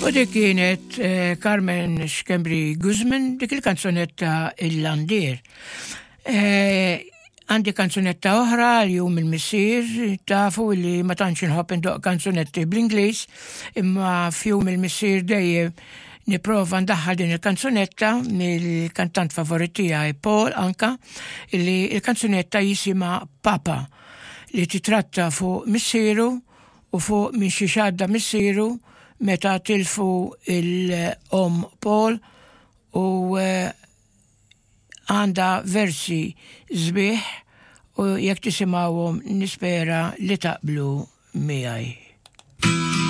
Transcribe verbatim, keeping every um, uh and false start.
U dik kienet eh, Carmen Schembri Guzman, dik il-kanzunetta Il-Landier. Eh, għandi kanzunetta oħra għal Jum il-Missier, tafu li ma tantx inħobb indoqq kanzunetti bl-Ingliż, imma f'Jum il-Missier dejjem nipprova ndaħħal din il-kanzunetta mill-kantant favorit tiegħi Paul anka, li il-kanzunetta jisimha Papa, li titratta fuq missieru u fuq minn xi għadda missieru meta tilfu l-omm Paul u eh, għandha versi sbieħ u jekk tisimgħuhom nispera li taqblu miegħi.